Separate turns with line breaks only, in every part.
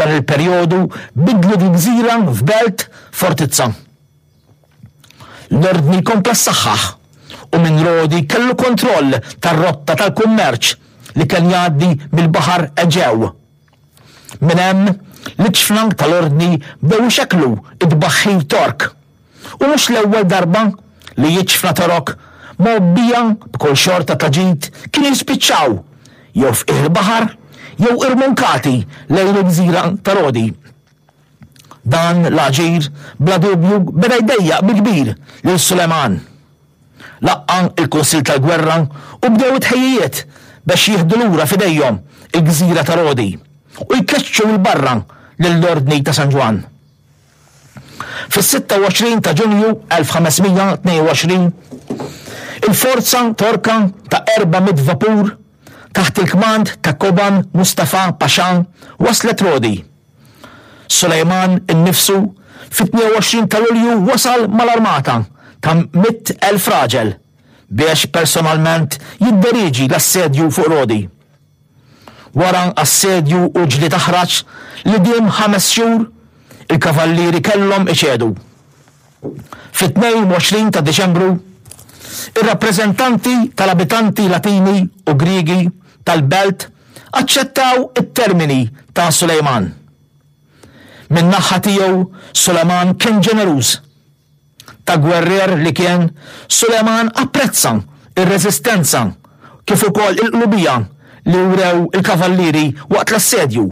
Dan il-perjodu bidlu dil-gżira f'belt fortizza. L-Ordni kompla ssaħħaħ u minn Rodi kellu kontroll tar-rotta tal-kummerċ li kien jgħaddi mill-Baħar Eġew. Minn hemm, l-iġfna tal-Ordni bdew ixekklu t-tbaħħir Tork. U mhux l-ewwel darba li iġfna Torok mgħobbija b'kull xorta ta' ġid kienu jispiċċaw jew f'qiegħ il-baħar jew irmunkati lejn il-gżira ta' Rodi. Dan l-aġir bla dubju beda jdejjaq bil-kbir lil Suleman. Laqqa' l-kunsill tal-gwerra u bdew it-tħejjijiet bex jieħdu lura f'idejhom il-gżira ta' Rodi u jkeċċu 'l barra lill-Ordni ta' San Ġwann. Fis-26 ta' Ġunju 1522, il-forza Torka ta' 400 vapur taħt il-kmand ta' Koban Mustafa Pasha waslet Rodi. Sulejman innifsu fit-22 ta' Lulju wasal mal-armata ta' 100,000 raġel biex personalment jidderieġi l-assedju fuq Rodi. Wara assedju u ġlied aħrax li diem ħames xhur, il-Kavallieri kellhom iċedu. Fit-22 ta' Diċembru, ir-rappreżentanti tal-abitanti Latini u Griegi tal-belt aċċettaw it-termini ta' Sulejman. Min-naħa tiegħu Suleman kien ġeneruż. Ta' gwerrier li kien, Suleman apprezza r-reżistenza kif ukoll il-qlubija li wrew il-Kavallieri waqt l-assedju.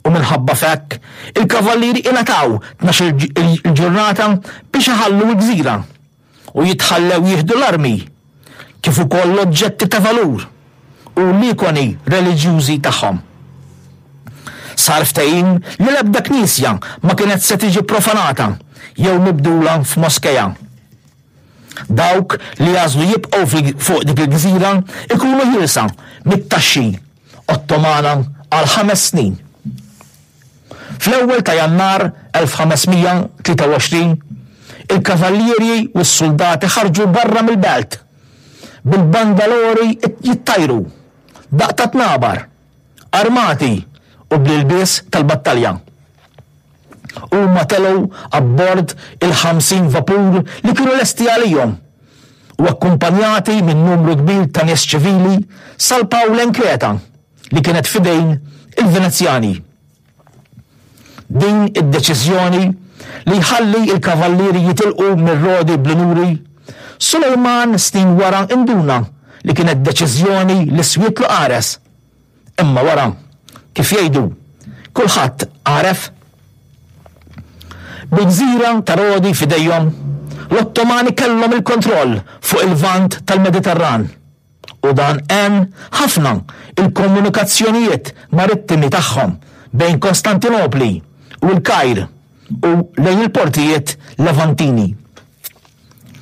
U minħabba f'hekk, il-Kavallieri ingħataw tnax-il ġurnata biex iħallu l-gżira u jitħallew jieħdu l-armi kif ukoll l-oġġetti ta' valur u l-ikoni reliġjużi tagħhom. Sar ftehim li l-ebda knisja ma kienet se tiġi profanata jew mibdula f'moskea. Dawk li jagħżlu jibqgħu fuq dik il-gżira jkunu ħielsa mit-taxxi Ottomana għal ħames snin. Fl-ewwel ta' Jannar 1523, il-kavallieri u s-suldati ħarġu barra mill-belt, bil-bandalori jittajru, daqq ta' tnabar, armati u bl-ilbies tal-battalja. Huma telgħu abbord il-50 vapur li kienu lesti għalihom u akkumpanjati minn numru kbir ta' nies ċivili salpaw lejn Kreta li kienet f'idejn il-Venezjani. Din id-deċiżjoni li jħalli l-kavallieri jitilqu mir-Rodi bl-unuri, Sulejman snin wara induna li kienet deċiżjoni li swietlu qares. Imma wara, kif jgħidu, kulħadd għaref. Bil-gżira ta' Rodi f'idejhom, l-Ottomani kellhom il-kontroll fuq il-Lvant tal-Mediterran. U dan għen ħafna il-komunikazzjonijiet marittimi tagħhom bejn Kostantinopli u l-Kajr u lejn il-portijiet Levantini.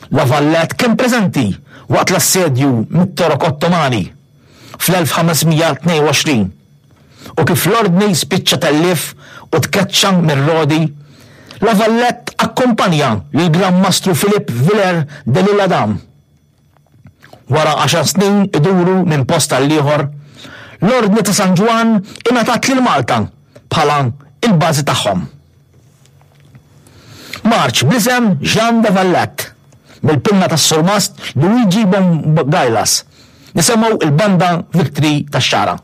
La Valette kien preżenti waqt l-assedju mit-Torok Ottomani fl-1522 u kif l-Ordni spiċċa tellief u tkeċċa minn Rodi, La Valette akkumpanja lill-Gran Mastru Philippe Villers de l'Isle-Adam. Wara għaxar snin iduru minn post għall-ieħor, l-Ordni ta' San Ġwann ingħatat lil Malta bħala l-bażi tagħhom. Marċ bl-isem Jean de Valette, mill-pinna tas-Surmast Luigi Bongailas, nisimgħu l-Banda Victory tax-Xagħra.